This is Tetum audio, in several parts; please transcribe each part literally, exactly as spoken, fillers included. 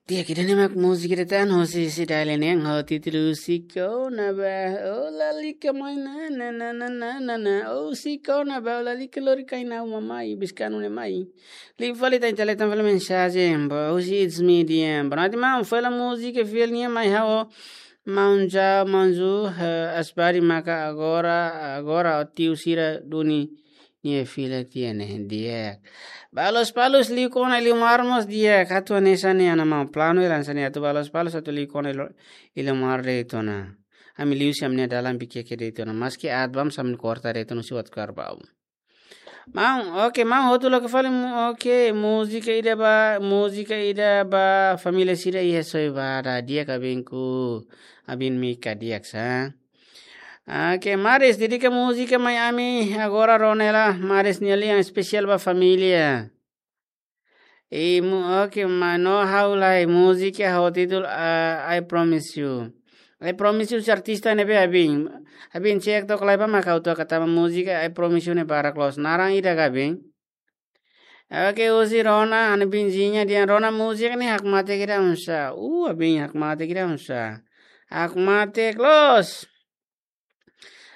Di'ak, ida-ne'e mak múzika ida tan hosi sidai leneng ho títulu Husik Ona Ba. Oh, lalika mai na, na, na, na, na, na, na. Oh, husik ona ba, oh, lalika lori kain ha'u mamai, biskan ne'e mai. Liu fali tan, tale tan fali mensajen ba, husi It's Me D M. Ba, nanti maun fali múzika fali nian mai ha'u. Maun Ja, maun Ju, eh, Asbari maka agora, agora tiu sira duni nia fila tiha ne'e, di'ak. Ba Lospalos liu kona Iliomar mós di'ak, atu hanesan ne'e ana maun planu hela hanesan ne'e atu ba Lospalos atu liu kona Ilio-, Iliomar de'it ona. Ami liu husi ami-nia dalan bike ke de'it ona. Maski aat ba mós ami korta de'it ona husi WhatsApp ba. Maun, oke, maun, hotu loke fali mu-, oke, múzika ida ba, múzika ida ba família sira iha Soibada, di'ak abinku, abin Mika di'ak sa. Oke, Maris, dedika múzika mai ami, agora rona hela, Maris nia lian espesiál ba família. I mu-, oke, mano ha'u lai múzika ho títulu, ah, I Promise You. I Promise You husi artista ne'ebé abin. Abin cek tok lai ba mak ha'u toka tanba múzika I Promise You ne'e barak loos. Naran ida ka abin. Oke, husi Rona, ana abin Zinha dehan Rona múzika ne'e hakmatek ida oinsá. Uh, abin hakmatek ida oinsá. Hakmatek loos.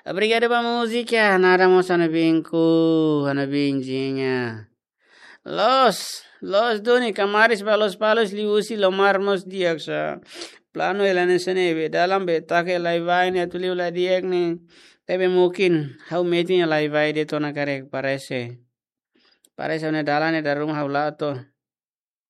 Obrigadu ba múzika, naran mós ana abinku, ana abin Zinha. Loos, loos duni, Kamaris ba Lospalos liu husi Iliomar mós di'ak sa. Planu hela hanesan ne'e be, dalan be taka lai-vai ne'e atu liu la di'ak ne'e. Tebe mungkin, ha'u metin lai-vai de'it ona karik parese. Parese ne'e dalan ne'e dala ruma ha'u la to'o.